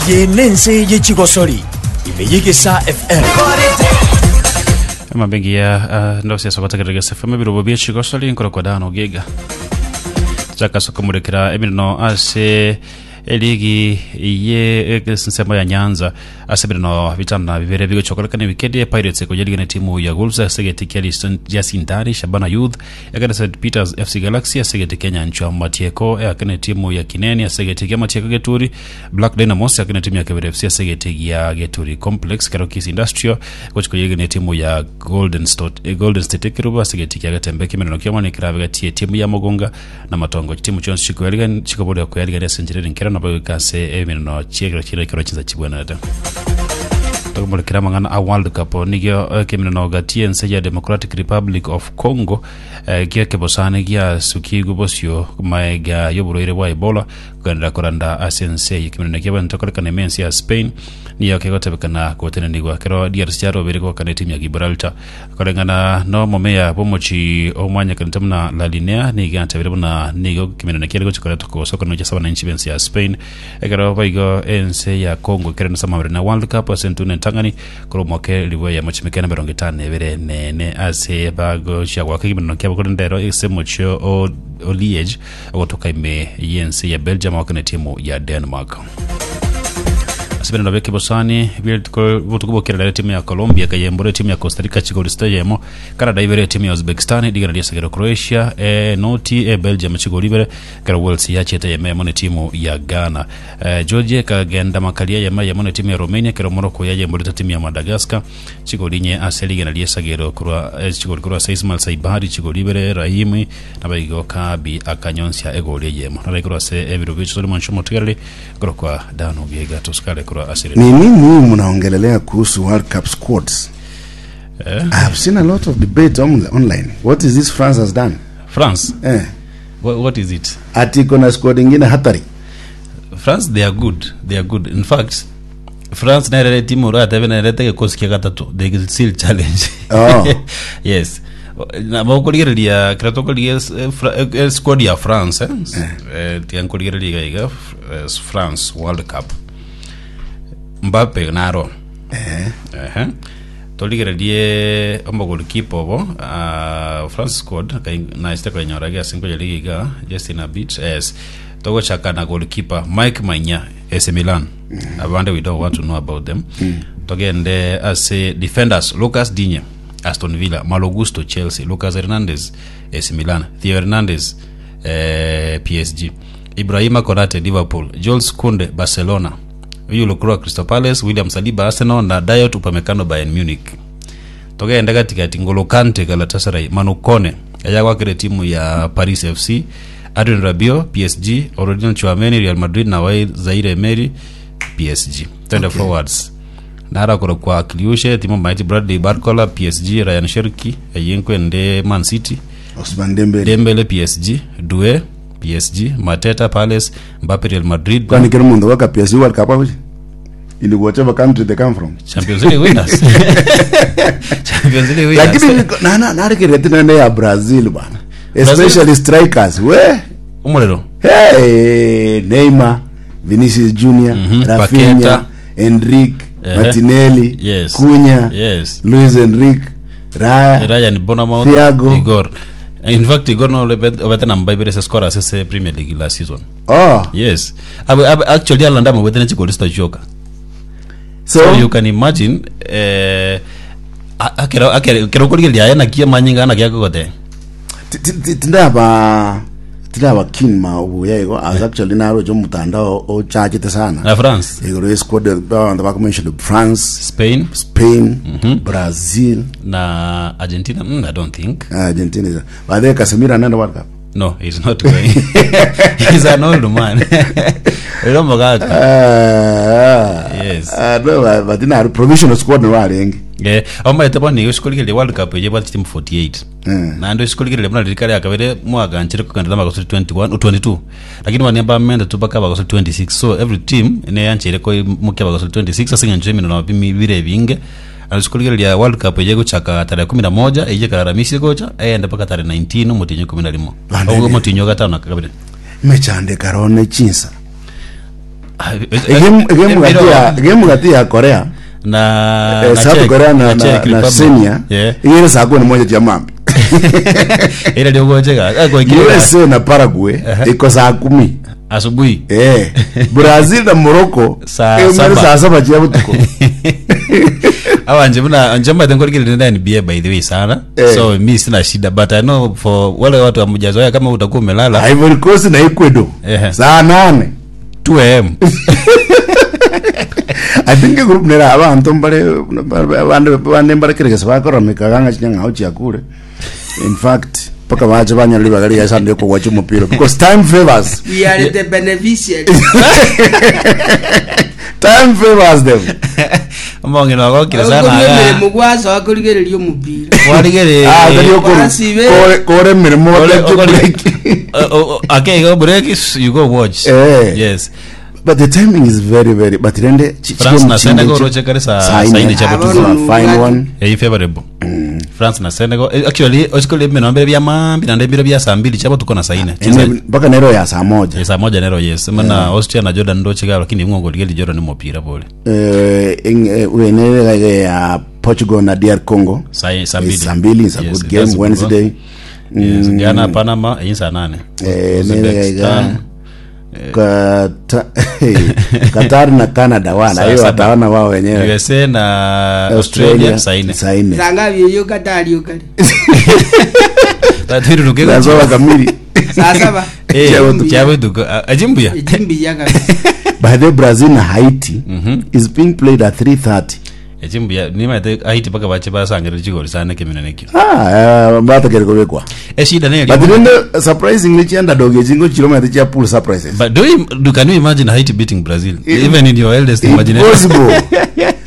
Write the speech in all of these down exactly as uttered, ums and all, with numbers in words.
Eye nense ye chigosori ime y'Egesaa F M. Emabengi ya uh, ndosi asogotegerera Gesa F M, ebirobo bia chigosori, nkorokwa dano giga chakasa komurekera emirino ase eligi ye ensemo ya Nyanza. Ase ebirino bitano na bibere bigochokorekana ewikendi, Pirates ekoyeriga na timu ya Wolves ase egeti kia Liston- Sindari, Shabana Youth ekene Saint Peters F C Galaxy ase egeti kia Nyanchwa, Matieko ekene timu ya Kineni ase egeti kia Matieko Geturi, Black Dynamos ekene timu ya Kebere F C ase egeti gia Geturi Complex, kero Kisii Industrial gochikoyeriga na timu ya Golden State, eh, Golden State Ekerubo ase egeti kia Getembe. Kimerano kiomane kerabe gati etimu ya Mogonga na Matongo. Chitimu chionsi chikoyariga chikoboria koyarigania ase enchera ere nkero nabo goika ase emirano chiekero chire ekero chinsa chibwenerete. Tokomorekera amang'ana a World Cup. Nigio ekemirano gati ense ya Democratic Republic of Congo eh, gia kebosane giasukigwe bosio maega y'oborwaire bwa Ebola kugendera koranda ase ense eye. Ekemirano kiabente korekana ime ense ya Spain niyo kegotebekana gotenenigwa kero D R C yarobere gokana etimu ya Gibraltar. Koreng'ana no omomeya bw'omochi omwanyekanete buna La Linea, nigo atebire buna nigo ekemirano kiare gochi koreta kogosokana gochia ase abananchi b'ense ya Spain, ekero baigo ense ya Congo ekere nase amabere na World Cup ase entune entang'ani korwa omwaka elibu eyemo chimekene emerongo etano na ebere nene ase bagochia gwaka ekemirano kiabo. Korende ero ase omochi o o Liege ogotoka ime y'ense ya Belgium awakana etimu ya Denmark. Ase birendo bia kebosani botuko bokirera, timu ya Colombia ekayembora etimu ya Costa Rica chigori sita yemo, Canada ibere etimu ya Uzbekistan digana riasegero, Croatia e noti e Belgium chigori ibere, kero Wales yachiete yemo yemo ne timu ya Ghana. eh, Georgia ekagenda makaria yemo yemo ne timu ya Romania, kero Morocco yayemborete timu ya Madagascar chigori inye ase rigena riesagero korwa eh, chigori korwa ase Ismail Saibari chigori ibere, Rahimi nabaigo Kabi akanyonsia egori eyemo naraikorwa ase ebiro bicho moncho motigareri korwa dano giega tosikare korwa ase Ni nini hii mnaongelelea kuhusu World Cup squads? eh? I have seen a lot of debate on, online. What is this France has done? France? Eh, what, what is it? Ati iko na squad ingine hatari. France, they are good, they are good. In fact, France nerere timu uratebe nerete gikosi kia gatatu, they will still challenge. Oh. Yes, nabo kurigereria kira tukorigia squad ya France, eh, eh tiga nkurigereria iga iga eh, France World Cup, Mbappe naro. Eh, Ehe. Torigererie omogolikipa obo, uh, France squad naiste koinyora gese nkoyeriga iga just in a bit. Yes, togochaka na goalkeeper Mike Maignan, A C Milan. Abande we don't want to know about them. Togende ase defenders: Lucas Digne, Aston Villa; Malo Gusto, Chelsea; Lucas Hernandez, A C Milan; Theo Hernandez, eh, P S G; Ibrahima Konate, Liverpool; Jules Kounde, Barcelona; huyu Lukroa, Crystal Palace; William Saliba, Arsenal; na Dayot Upamecano, Bayern Munich. Togende katikati: Ngolo Kante, Galatasaray; Manu Kone ayagwakire timu ya Paris F C; Adrien Rabiot, P S G; Aurelien Tchouameni, Real Madrid; na Wai Zaire Emery, P S G. Twende Okay. forwards: narakora kwa Kliushe timu maiti, Bradley Barcola, P S G; Rayan Cherki eyinkwende, Man City; Ousmane Dembele. Dembele, P S G; Doue, P S G; Mateta, Palace; Mbappe, Real Madrid. Kwani kila mundu waka P S G World Cup hapo? In whatever country they come from. Champions League winners, Champions League winners. Lakini niko- na na narekereria tena ya Brazil bana. Especially strikers. We. Umuriro. Hey, Neymar, Vinicius Junior, Mhm, Rafinha, Paqueta. Endrick, Ehe. Martinelli, Yes. Cunha, Yes. Luis Enrique, Raya, Ryan Bournemouth. Thiago. Igor. In fact, Igor no obete namba ibere se scorer ase Premier League last season. Oh, Yes. Abe, abe, actually alanda mabete ne chigoli sitachoka. So, So you can imagine, eh akero akero kero korigereria aya nakia manyinga nakia kogote. ti- ti- ti- tindaba tindaba keen ma ubuya igo. I was actually narojo mutandao ochachete sana. Na France. Igoro ye squad abantu bakumention France, Spain. Spain, Brazil, Na Argentina. mm, I don't think. Argentina. is- But then Casemiro anaenda World Cup. No, he's not going. He's an old man. Rero mugaka. Ah, Yes. ah, no, but but ina provisional squad no arenge. Eh, amaete boni usikoligereria World Cup eye bwati team forty-eight. Mm. Naende usikoligereria buna ririka ria kabere mwaganchire kugenda magoso twenty-one twenty-two, lakini baniamba mende tu baka bagoso twenty-six. So every team neyanchire ko mukia bagoso twenty-six ase ng'encho emino na bimi bire binge. Usikoligereria World Cup eye gochaka tarehe kumi na moja eye kararamisi gocha eyende mpaka tarehe nineteen omotinyo kumi na rimo. Bandene. Ogo motinyo gatano na kabere. Mechande karone chinsa. Egemu egemu gati ya egemu gati ya Korea na eh, na South Czech- Korea na na na, Czech na Republic. Senia Yeah. igere saa kumi na moja chia mambi Ira ndio gochega U S A na Paraguay iko saa kumi asubuhi. eh Brazil na Morocco Saa eh, saba. saa saba chia butuko. Awanje mna njamba tengorikile ndani N B A, by the way, sana. Eh. So mi sina shida, but I know for wale watu hamjazoea, kama utakuwa umelala. Ivory Coast na Ecuador Ehe. saa nane two a m. I think a group nera abantu mbare bande bande mbare kiregesa bakora mikaganga chinyang'ao chiakure. In fact, paka bache banyala libagari ya Sunday ko watch mupira because time favors. We are the beneficiaries. Time favors them. Mongino agokire sana. Okoria Aga emeremo gwasoa korigereria omopira. Warigere. Ah, tari okoro Basibe. kore kore mirimo Ore- bakye okori- break. Uh, uh, okay, go break, you go watch. Eh. Yes. But the timing is very very, but rende chi- France chi- na chi- Senegal chi- roche kare saa saa saa ine. ine cha Ah, butuko. bono. Fine one. Eh, favorable France na Senegal. Eh, actually osikole meno mbere bya mambi na ndebiro bya saa mbili cha butuko na saa ine. Ene- mpaka nero ya saa moja. Eh, saa moja nero, yes. Mana Austria na Jordan ndo chiga, lakini ngongo ligeli Jordan ni mupira pole. Eh ing- eh, uenere ya Portugal na D R Congo. Saa saa mbili. Saa mbili is a Yes, good that's game a good Wednesday. one. Yes, Ghana Panama eh, saa nane. Eh, Uzbekistan. Kata- Qatar na Canada wana Saa hiyo saba. wataona wao wenyewe. U S A na Australia saa ine. Saa ine. Sangapi eyo Katari okare? Tatiri rukego. Saa saba kamili. Saa saba. Eh, Chabutuko. chabutuko. Ajimbuya. Ejimbiya kabisa. By the way, Brazil na Haiti is being played at three thirty. Ejimbuya nimaite Haiti paka bache basangire chigori sana kimina nekio. Ah, eh, batakere kubekwa. Eshida ne But then surprisingly chi underdog echingo chiroma ati chia pull surprises. But do you, do, can you imagine Haiti beating Brazil? Even in your wildest imagination. Impossible.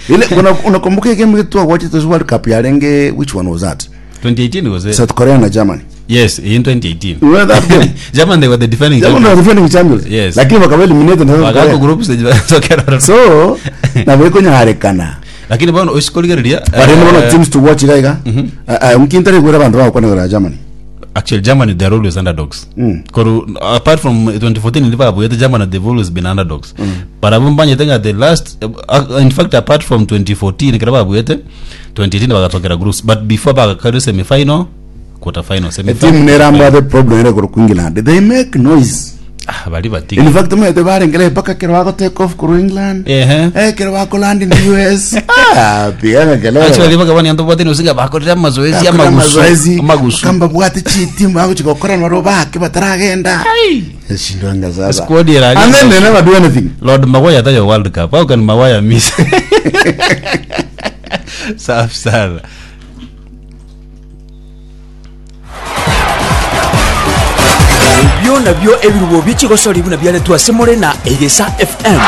Ile una- unakumbuka game yetu watch this World Cup ya Renge, which one was that? twenty eighteen was it? South Korea na Germany. Yes, in twenty eighteen. You remember that game? German, they were the defending Germany champions. were defending champions. Yes. Lakini wakawa eliminated na South Wakako Korea. group stage basokera. So nabwekonyarekana. Lakini bono osikoligereria. But then one of teams to watch igaiga mkintari gwira bantu bakwanagara Germany. Actually, Germany, they're always underdogs. Mm. Koru, apart from twenty fourteen Liverpool, Germany, they've always been underdogs. Mm. But abumbanye tenga the last uh, in fact, apart from twenty fourteen kiraba bwete twenty eighteen bakatokera groups, but before bakakari semi final, quarter final, semi final. Team neramba the problem ere kuru England, they make noise. Ah, bali batiki. In fact, mwete barengere mpaka kero wako take off kuru England, Ehe. eh kero wako land in the U S, ah pigana kelele. Actually baka bani anto bwatini usinga bakorera mazoezi Bakora amagusu. mazoezi. Amagusu. Kamba bwate chitimu ako chigokora naro bake bataragenda shindwanga sasa. Squad era. And then they never do anything. Lord Maguire atayo World Cup. How can Maguire miss? Safi sana. Ebyo nabyo ebirubo by'ekigosori buna byaletwa semore na Egesa F M.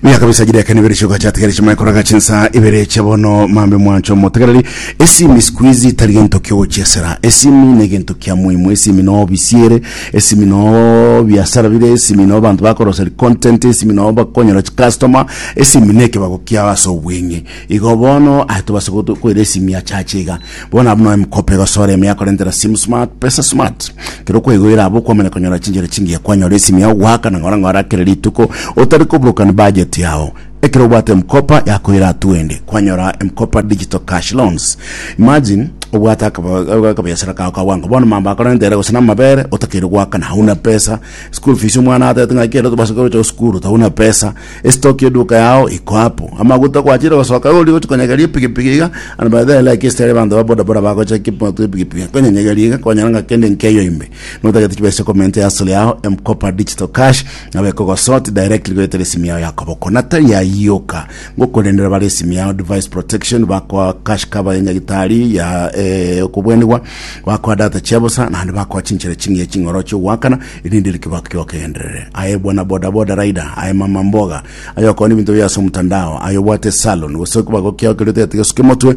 Miaka kabisa jira kane bere shuka chat kare chima koraga chinsa ibere chebono mambe mwancho motegereri esimi squeeze tari gento kyo chesera esimi ne gento kya muhimu. Esimi no bisiere, esimi no biasara bire, esimi no bantu bakoroseri content, esimi no bakonyera customer, esimi neke bagokia baso bwenge igo bono ato baso kwere esimi ya chachiga bona buno mkope gosore emi yakorentera sim smart pesa smart kero kwigwira abo kwamenya konyora chinjere chingiya kwanyora esimi yao gwaka na ngora ngora kere rituko otari kubrukana budget yao. Ekero obwate Mkopa yakoira tuende kwanyora Mkopa digital cash loans. Imagine obwate akabiasara kao kawango bono mamba akorentera gose na mabere otakire gwakana hauna pesa, school fees omwana atete ng'aki tubasa cha skuru tauna pesa, estock eduka yao iko hapo amaguta kwachira gosoka uri gochikonyegeria epikipiki iga. And by the way, like yesterday bantu ba boda boda bagocha kipo epikipiki konyenyegeria iga konyora ng'a kende nkeyo imbe notagete chibesa comment ya sole yao Mkopa digital cash nabe kogosort directly goetera esimu yao yakoboko natari yayoka ngokorendera bari esimu yao device protection bakwa cash cover ya nyagitari ya eh, okobwenigwa bakwa data chiabosa naende bakwa chinchere chingiya ching'oro chiogwakana irinde rikibako kiokenderere. Aye bwana boda boda rider, aye mama mboga, aye okoni bintu byase omutandao, aye obwate salon gose okobako kiao kerio tete gesuke motwe,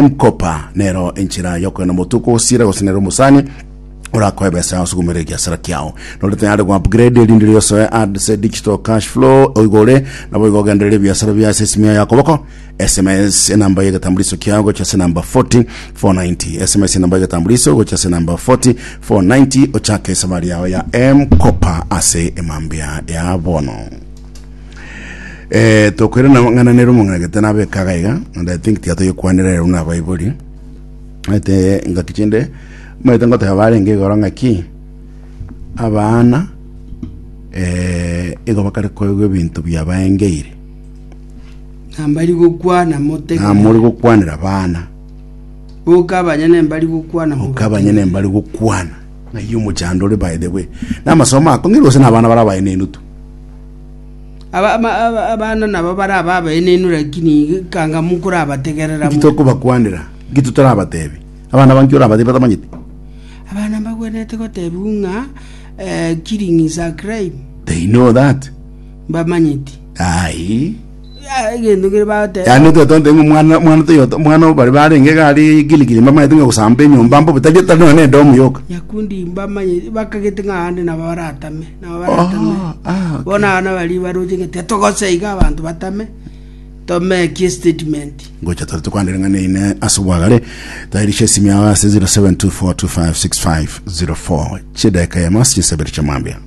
Mkopa nero enchera yokoenda motuko osira gose nero omosani. Orakoe besa osugumere egiasara kiao nore tayari go upgrade erinde riosoe ase digital cash flow oigore nabo igogenderera ebiasara bia ase esimia ya koboko. S M S enamba ya egetambuliso kiao gocha ase namba four zero four nine zero. S M S enamba ya egetambuliso gocha ase namba four zero four nine zero, ochake esabari yao ya M-Kopa ase emambia ya bono. eh tokwere na ng'ana nero omong'anagete nabekaga iga, and I think tiatoyekwanera rero na abaibori ete ngaki chinde maete ngoteba barenge igoro ng'aki abana eh igo bakare koigwa ebinto biabaengeire. Nambari gokwana motege. Namori gokwanera abana. Boka abanyene mbari gokwana. Okabanyene mbari gokwana ng'ai omochando ore. By the way, namasomo akong'ire gose na abana bara abaenenu tu? Aba- ama- aba- abana nabo bara abaenenu, lakini kanga mukurabategerera. Nki tokobakwanera, nki tutarabatebi abana banki orabatebi batamanyete? Abana mbagwenerete gotebiwa ng'a eh, killing is a crime. They know that. Mbamanyeti. Ai. Ah, egento kere bagoteba. Yani twetonte ng'o mwana mwana toyota mwana bari barenge gari giligili mbamanyete ng'a gosamba enyomba mbobe tari tari none edomu yoka. Nyakundi mbamanye bakagete ng'a ande nabo baratame nabo baratame. Oh, ah, okay. Bona abana bari baroche ng'ete togoseiga abanto batame tomeke statement. Ngocha tore tukwanire ng'ane ine ase obwagare tairisha esimu yawe ase zero seven two four two five six five zero four chidaka ya masi chisabere chamwambia.